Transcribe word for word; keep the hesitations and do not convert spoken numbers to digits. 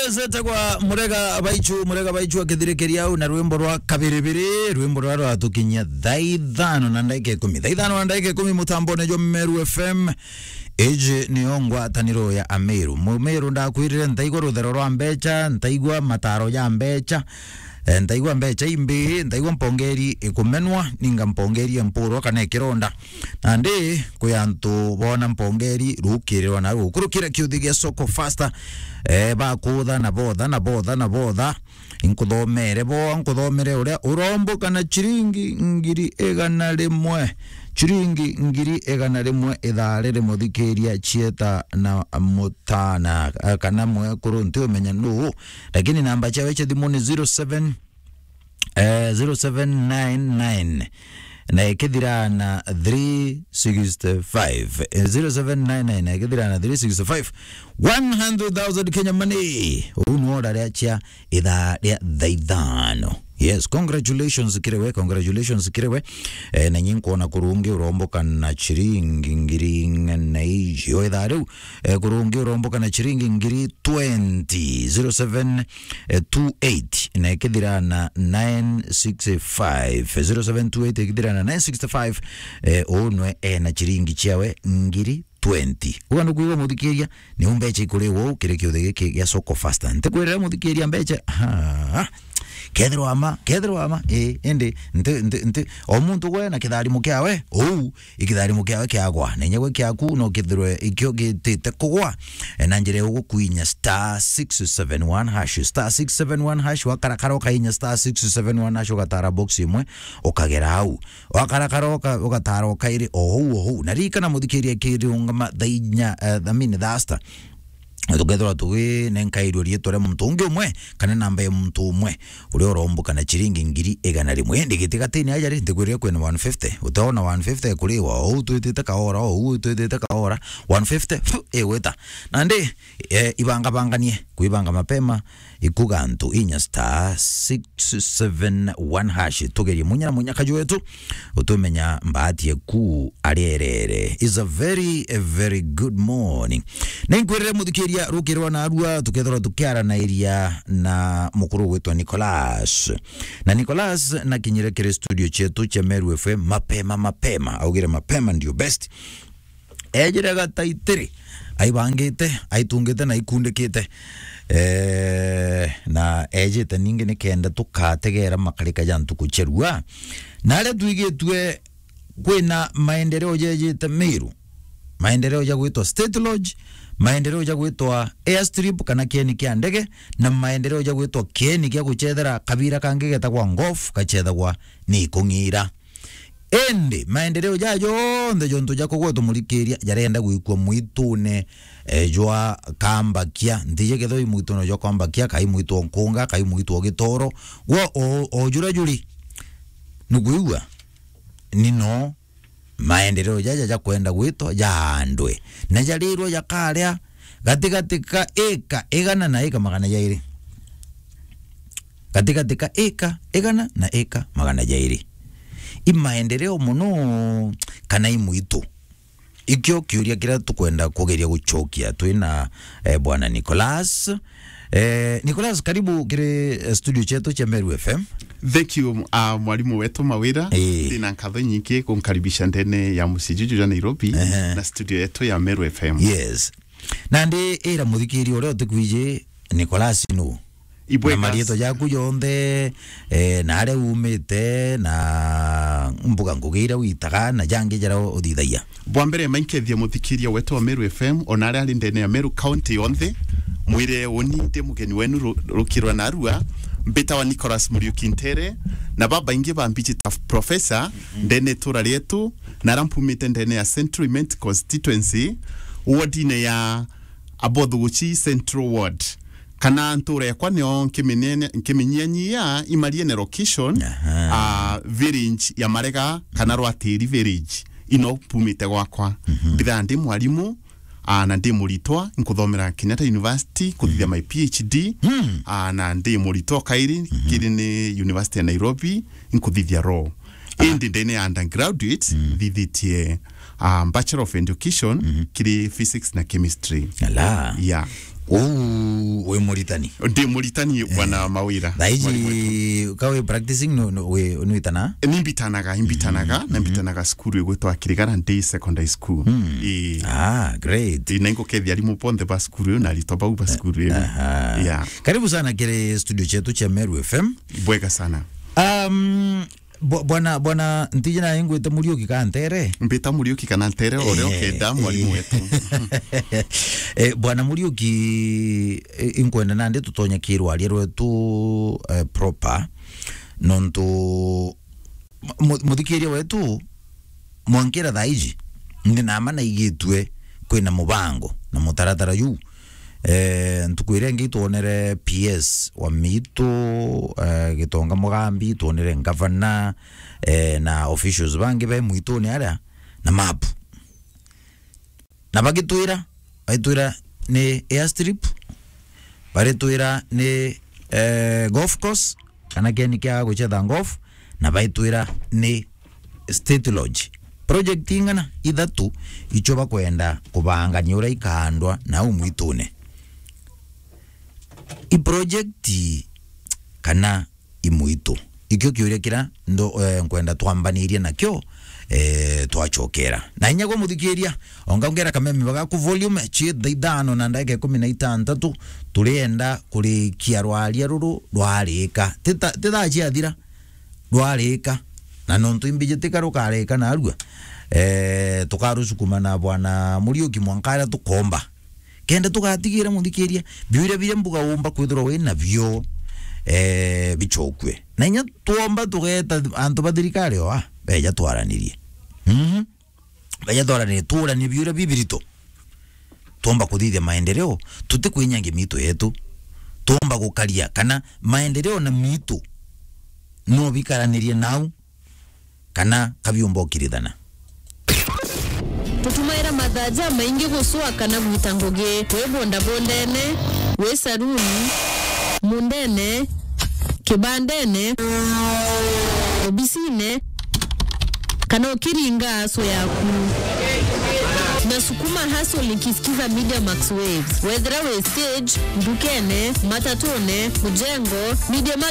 Zeta kwa Murega Baichu, Murega Baichu akithirikiria au na rwimbo rwa Kabiribiri, rwimbo rwa rwatukinyia thaa ithano na ndagika ikumi. Thaa ithano na ndagika ikumi mutambone jwa Meru F M. Iji niyo ngwataniro ya Ameru. Mumeru ndakwirire ntaigua ruthero rwa mbecha, ntaigua mataro ja mbecha, eh, ntaigua mbecha imbi, ntaigua mpongeri ikumenwa, ninga mpongeri empurwa kana ikironda. Nandi kwi antu bona mpongeri rukirirwa na rukurukira kiuthi gia Soko Faster, eh, bakutha na botha na botha na botha. Inkuthomere bo, nkuthomere uria uromboka na chiringi ngiri igana rimwe. Chiringi ngiri igana rimwe ithaa riri muthikiria chieta na mutana, eh, kana mwekuru nti umenya nuu. Lakini namba chiawe chia thimu ni zero seven, eh, zero seven nine nine na ikithira na three sixty-five. Eh, zero seven nine nine na ikithira na three sixty-five. One hundred thousand Kenya money. Uu ni order ria chia ithaa ria thaa ithano. Yes, congratulations kiri we, congratulations kiri we. Eh, na nyi nkwona kurungi uromboka na chiringi ngiri ing'ana na icio ithaa riu. Eh, kurungi uromboka na chiringi ngiri twenty, zero seven two eight na ikithira na nine six five, zero seven two eight ikithira na nine six five. Eh, uu nwe ena chiringi chiawe ngiri twenty. Uga nukwigua muthikiria, ni umbecha ikuriwa uu kiri kiuthi giki gia Soko Faster. Ntikwirira muthikiria mbecha, ha, kethirwa ama, kethirwa ama, ii, indi nti, nti, nti, o muntu gwe na kitharimo kiawe, uu, ikitharimo kiawe kiagwa, na inya gwe kiaku no kithirwe ikio gitite kugwa, e, na njira ya ugukwinya star six seven one hash, star six seven one hash, wakarakara ukainya star six seven one hash, ugatara box imwe, ukagera au. Wakarakara uka-, ugatara o kairi o huu o huu. Na ririkana muthikiria kiriungama thaa inya, eh, I mean, thaa sita. Na tukethirwa tuginenkairua riitwa ria muntu ungi umwe, kana namba ya muntu umwe, uria uromboka na chiringi ngiri igana rimwe. Indi gitigatini aja ri, ntikwirire kwina one fifty. Uteona one fifty kuriwa, o uu twitite kaora, o uu twitite kaora, one fifty, pfu, igwita. Nandi, eh, ibangabanganie, kwibanga mapema, ikuga antu inya star six seven one hash. Tugerie munya na munya kaju wetu, utumenya mbaati eku arierere. Is a very, a very good morning. Ninkwirire muthikiria rukirwa na arua, tukethirwa tukiaranairia na mukuru witwa Nicholas. Na Nicholas nakinyire kiri studio cietu cia Meru F M mapema, mapema. Augire mapema ndio best. Ejire gataitiri, aibangite, aitungite na ikundikite. Eh, na ejite ningi nikenda tukategera makarika ja ntuku cia rua. Na aria twigitue kwina maendeleo jejite Meru. Maendeleo ja gwitwa State Lodge, maendeleo ja gwitwa airstrip kana kieni kia ndege, na maendeleo ja gwitwa kieni kia guchethera kabira kangi getagwa golf, gachethagwa ni ikung'ira. Indi maendeleo jaa jonthe jontu ja kugwetwa murikiria jarenda gwikua mwitune, eh, jwa Kambakia. Ntiji kethirwa i mwitune jwa Kambakia, kai mwitu o Nkunga, kai mwitu o Gitoro. Gwo o, o jura juri. Nukwigua? Ni no maendeleo jaja jakwenda gwitwa jaandwe. Na jarirwe jakaria gatigati ka ika igana na ika magana jairi. Gatigati ka ika igana na ika magana jairi. I maendeleo mono kana i mwitu? Ikio kiuria kiria tukwenda kugeria gucokia twina, eh, Bwana Nicholas. Eh, Nicholas, karibu kiri, eh, studio chetu cha Meru F M. Thank you, uh, mwalimu wetu Mawira. Eh. Ndina nkatho nyingi kunkaribisha ndene ya mucii juju jwa Nairobi, ehe, na studio yetu ya Meru F M. Yes. Nandi ira muthikiria uria utikwiji Nicholas nu. Ibwega. Na marietwa jaku jonthe, eh, na aria umite, na mbuga ngugi iria witaga, na jangi jaria uthithagia. Bwa mbere, mainkethia muthikiria wetu wa Meru F M, ona aria ari ndene ya Meru County yonthe, mwire uni ndi mugeni wenu ru-, rukirwa na arua, mbitawa Nicholas Muriuki Ntere, na babaingi bambiji ta Professor, mhm, ndene itura rietu, na aria mpumite ndene ya Central Imenti Constituency, wardine ya Abothuguchi Central Ward. Kana ntura yakwa nio nkiminyene-, nkiminyianyia Imariene location, aha, ah, village ya Marega kana Rwatiri village. Ino mpumite gwakwa. Mhm. Mbithaa ndi mwarimu, ah, na ndi muritwa, nkuthomera Kenyatta University, nkuthithia, mhm, my P H D, mm, ah, na ndi muritwa kairi, mhm, kiri ni University ya Nairobi, nkuthithia law. Ah. Indi ndene ya undergraduate, mm, nthithitie, ah, Bachelor of Education, mhm, kiri physics na chemistry. Ala. Yeah. Uu, wi muritani? Ndi muritani, eh, bwana Mawira. Thaa iji, mwalimu wetu, ka wi practicing, no, no, wi, nwitana? Nimbitanaga, imbitanaga, mm, na mbitanaga cukuru igwitwa Kirigara Day Secondary School. Mm. Ii. Ah, great. Ii, na ingukethia arimu bonthe ba cukuru iyo na aritwa bau ba cukuru iyo. Aha. Yeah. Karibu sana kiri studio chetu cha Meru F M. Bwega sana. Um, Bwa-, bwana, bwana, ntiji na ingwite Muriuki kana Ntere? Mbita Muriuki kana Ntere, o uria, eh, ukenda, mwalimu, eh, wetu. Eh, bwana Muriuki, eh, inkwenda nandi tutonye kirwaria rwetu, eh, proper, nontu mu-, muthikiria wetu, mwankira thaa iji, ndi nama naigitue kwina mubango na mutaratara juu. Eh, ntuku iria ingi itwonere P S wa Miitu, eh, Gitonga Mugambi, itwonere ngavana, eh, na officials bangi be Muitune aria na mapu. Na bagitwira, baitwira ni airstrip, baritwira ni, eh, golf course, kana kieni kia gucetha golf, na baitwira ni State Lodge. Project ing'ana ithatu icio bakwenda kubangania uria ikaandwa nau Muitune. I project kana i Muitu? Ikio kiuria kiria ndo-, eh, nkwenda twambanirie nakio, eh, twacokera. Na inya gwe muthikiria, onga ongera kameme bagaku volume, chi thaa ithano na ndagika ikumi na itantatu, turienda kurikia rwaria ruru rwarika. Ti ta-, ti thaa ciathira, rwarika. Na nontu imbiji tika rukarika narua, eh, tukarusukuma na bwana Muriuki mwanka aria tukomba. Kenda tugatigira muthikiria, biuria biria mbuga umba kwithirwa wi nabio, eh, bicokue. Na inya twomba tugeta antu ba thirikari oa, beja twaranirie. Mhm. Beja twaranirie, tuuranie biuria bibirito. Twomba kuthithia maendeleo, tutikwinyangia miitu yetu. Twomba gukaria kana maendeleo na miitu no bikaranirie nau, kana kabiumba ukirithana. Tutumaira mathaa jamaingi gucua kana gwita ngugi, wi bondabondene, wi saruni, mundene, kibandene, obisine, kana ukiringa aso yaku. Nasukuma hustle nikisikiza Media Max Waves. Wethira wi stage, ndukene, matatune, mujengo, Media Max